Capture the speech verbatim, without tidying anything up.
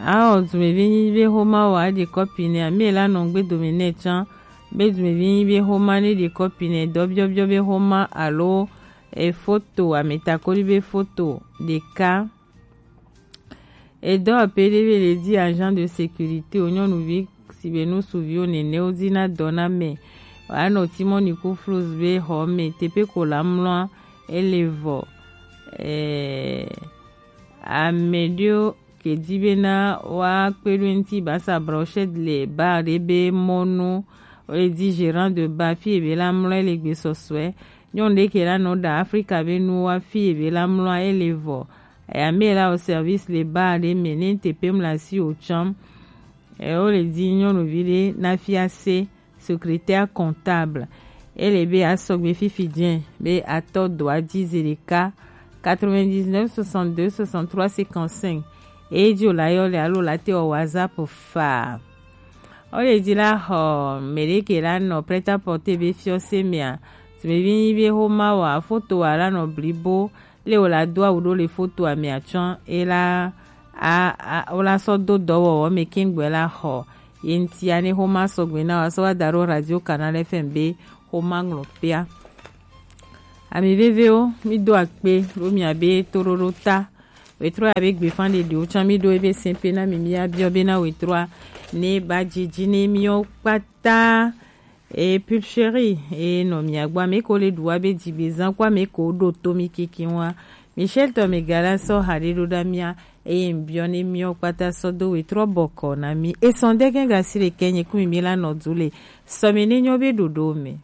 Ao dumevi nyi be xoma wa ɖi kɔpi nɛ, ame la nɔ gbe dome nɛ can. Be dumevi nyi be xoma ne ɖi kɔpi nɛ, dɔ biɔbiɔ be xoma alo e foto, ame takoli be foto ɖeka. Edɔ ape ɖe be le di agent de sécurité o nyɔnuvi si be nu suvi o nene o di na dɔ na me. Wa nɔ timɔ ni ku flus be xɔ me tepe ko la mlɔa ele vɔ. Eh, ame ɖewo ke di bena woakpe ɖo eŋuti basa brochette le bar ɖe be mɔnu. Wole di gérant de bar fi ebe la mlɔ ele gbesɔsɔe. Nyɔnu ɖe ke la nɔ ɖa Afrika be nuwo wa fi ebe la mlɔ ele vɔ. Ame la au service le bar ɖe me ne tepe mla si o tsam. E wole di nyɔnuvi ɖe na fia se secrétaire comptable. Ele be asɔgbe fifi jɛ be atɔ do adzi zi ɖeka quatre-vingt-dix-neuf soixante-deux soixante-trois cinquante-cinq. Eye dzi o la yɔ le alo la te wɔ WhatsApp fa. Wole di la xɔ me ɖe ke la nɔ prêt-à-porter be fiɔse mea. Tumevi nyi be xoma wa foto wa la nɔ blibo le wo la do awu ɖo le foto ame atsɔ e la a a wo la sɔ do dɔwɔwɔ me kengbe la xɔ. Ye ŋuti ane xoma sɔgbe na wa sɔ wa da ɖo Radio Canal F M be xoma ŋlɔ pea. Ami vevewo, mi do akpe ɖo mia be toɖoɖo ta. Wetrɔ ya be gbefan ɖeɖewo tsã mi ɖo ebe sɛnpe na mi, mi abiɔ be na wetrɔa ne ba dzidzi ne miɔ kpata. E pulcherie e nɔ mia gbɔ, ame ko le ɖu wa be dzigbezã ko ame ko ɖo to mi kiki wa. Michel tɔ mi gala sɔ ha ɖe ɖo ɖa mia eye mbiɔ ne miɔ kpata sɔ do wetrɔ bɔkɔ na mi. Esɔn de gɛn gasi le kɛ nye kumi mi la nɔ du le sɔ mi ne nyɔ be ɖoɖo me.